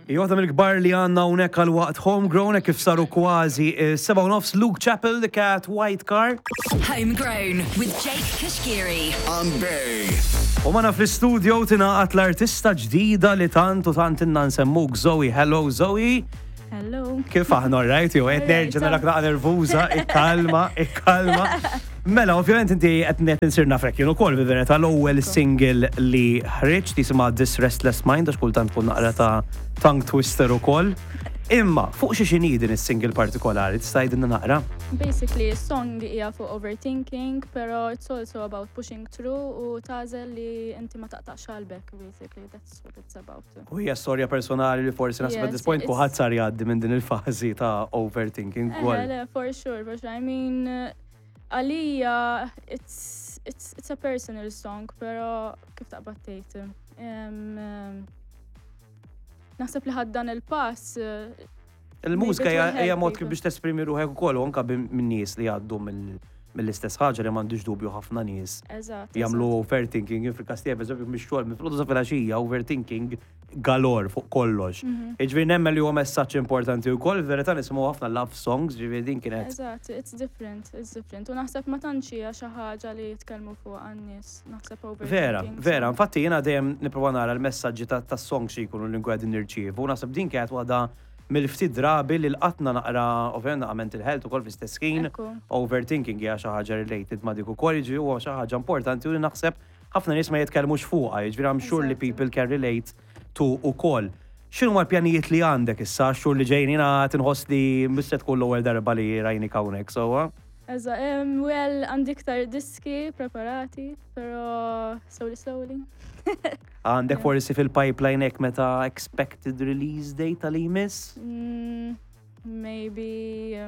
Hija waħda mill-kbar li għandna hawnhekk għal waqt Homegrown hekk kif saru kważi 7:30 Luke Chappell, The Cat, White Car. Homegrown with Jake Kashkiri. On Bay. U magħna fl-istudio tingħaqad l-artista ġdida li tant u tant inna nsemmuk Zoe. Hello Zoe. Hello. Kif aħna all right? Jew qed nerġa' narak naqa' nervuża, ikkalma, ikkalma. Mela, ovvjament inti qed qed insir nafek jien ukoll fil-verità l-ewwel single li ħriġt jisimha This Restless Mind għax kultant tkun naqra ta' tongue twister ukoll. Imma fuq xi x'inhi din is-single partikolari tista' tgħidilna naqra? Basically, song hija fuq overthinking, pero it's also about pushing through u tagħżel li inti ma taqtax qalbek, basically, that's what it's about. U hija storja personali li forsi naħseb at this point kulħadd sar jgħaddi minn din il-fażi ta' overthinking ukoll. Le, for sure, for sure. I mean, għalija, it's, it's, it's a personal song, pero kif taqbad tgħid. Naħseb li ħadd dan il-pass. Il-mużika hija mod kif biex tesprimi ruħek ukoll u anke minn nies li jgħaddu mill-istess ħaġa li m'għandix dubju ħafna nies. Jagħmlu overthinking, fil-każ tiegħi pereżempju mix-xogħol minn filgħodu sa filgħaxija overthinking galore fuq kollox. Jiġifieri nemmen li huwa messaġġ importanti wkoll, fil-verità nisimgħu ħafna love songs, ġifieri din kienet. Eżatt, it's different, it's different. U naħseb ma tantx hija xi ħaġa li jitkellmu fuqha n-nies, naħseb overthinking. Vera, vera, infatti jiena dejjem nipprova nara l-messaġġi tas-songs xi jkunu li nkun qegħdin nirċievu, u naħseb din kienet waħda mill-ftit drabi li lqatna naqra, ovvjament naqra mental health ukoll fl-istess ħin, overthinking hija xi ħaġa related ma' dik ukoll, jiġifieri huwa xi ħaġa importanti u li naħseb ħafna nies ma jitkellmux fuqha, jiġifieri I'm sure li people can relate to ukoll. X'inhuma l-pjanijiet li għandek issa għax-xhur li ġejjin? Jiena qed inħoss li mhux se tkun l-ewwel darba li rajnik hawnhekk, sewwa? Eżatt, well, għandi iktar diski preparati, però slowly slowly. Għandek forsi fil-pipeline hekk meta expected release date tal jmiss? Maybe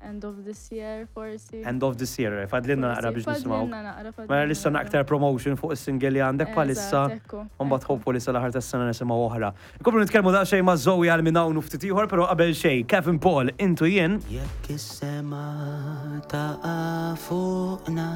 end of this year, forsi. End of this year, fadlinna naqra biex nisimgħu. Fadlinna naqra, fadlinna. Mela lissa aktar promotion fuq is-single li għandek bħalissa. U mbagħad hopefully sal-aħħar tas-sena nisimgħu oħra. Nkomplu nitkellmu daqsxejn ma' Zoe għal minn hawn u ftit ieħor, però qabel xejn, Kevin Paul, Intu Jien. Jekk is-sema taqa' fuqna.